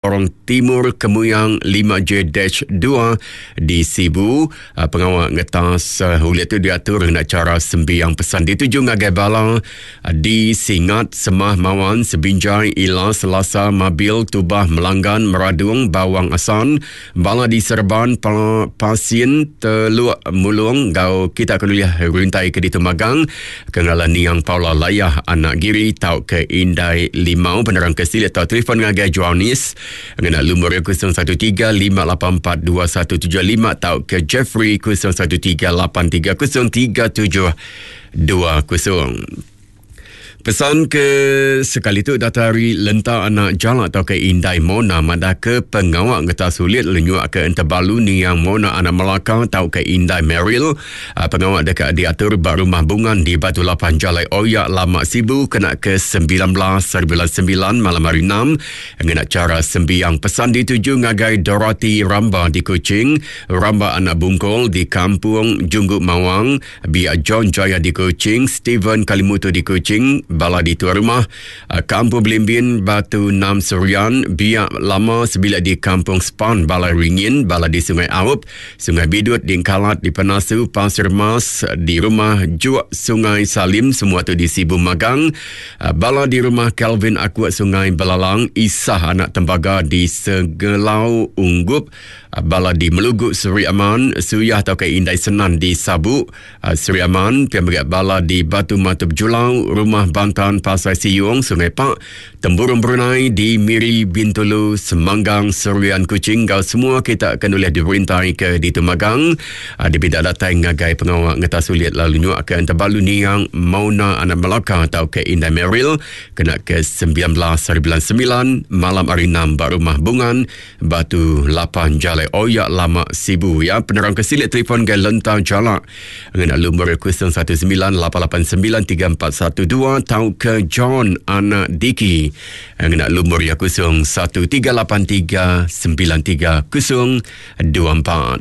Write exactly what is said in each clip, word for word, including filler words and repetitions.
Lorong Timur Kemuyang lima J dua di Sibu. Pengawa ngetas ulit tu diatur ngena cara sembiang pesan dituju ngagai bala di Singat, Semah, Mawan, Sebinjai, Ila, Selasa, Mabil, Tubah, Melanggan, Meradung, Bawang Asan, bala di Serban, pa, Pasin, Teluk Mulung, gau kita kuliah rintai ke Ditumagang, kengalan Niang Paula Layah, Anak Giri, tau ke Indai Limau. Penerang ke silit tau telefon ngagai Joannis ngena lumur kosong satu tiga lima lapan empat dua satu tujuh lima tau ke Jeffrey kosong satu tiga lapan tiga kosong tiga tujuh dua kosong. Pesan ke sekali tu datari Lenta Anak Jalak atau ke Indai Mona madah ke pengawak ngeta sulit lenyuak ke Entebalu Niang Mona Anak Melaka atau ke Indai Meril. Pengawak dekat diatur ba rumah bungan di Batu Lapan Jalai Oyak Lama Sibu kena ke sembilan belas bulan sembilan malam hari enam. Ngena cara sembiang pesan dituju ngagai Dorothy Ramba di Kuching, Ramba Anak Bungkol di Kampung Jungguk Mawang, Biak John Jaya di Kuching, Stephen Kalimutu di Kuching, bala di tuan rumah Kampung Belimbin Batu Nam Serian, Biak Lama Sebilik di Kampung Span Balai Ringin, bala di Sungai Aup, Sungai Bidut di Engkalat di Penasu, Pasir Mas di rumah Juak Sungai Salim, semua tu di Sibu Magang, bala di rumah Calvin Akuat Sungai Belalang, Isah Anak Tembaga di Segelau Unggup, bala di Melugut Seri Aman, Suyah atau ke Indai Senan di Sabu Seri Aman, pihak bala di Batu Matup Julau, Rumah Bantan Pasai Siung, Sungai Pak, Temburong Brunei di Miri Bintulu, Semanggang, Serian Kuching. Kau semua kita akan boleh diperintah ke di Tumagang. Dipinta datang ngagai pengawak ngeta sulit lalu nyuak ke Entebalu Niang Mauna Anak Melaka atau ke Indai Meril kena ke sembilan belas bulan sembilan malam hari enam ba rumah Bungan Batu Lapan Jalai Oyak Lama Sibu. Ya, penerang kesilit telefon ke Lentang Jalak ngena lumur kosong satu sembilan lapan lapan sembilan tiga empat satu dua tau ke John Anak Diki ngena lumur ya kosong satu tiga lapan tiga sembilan tiga kosong dua empat.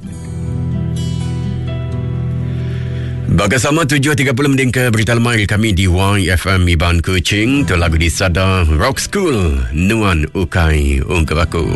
Bagasama tujuh tiga puluh mending ke berita lemai kami di Y F M Iban Kuching. Tu lagu di Sada Rock School, Nuan Ukai Ungkap Aku.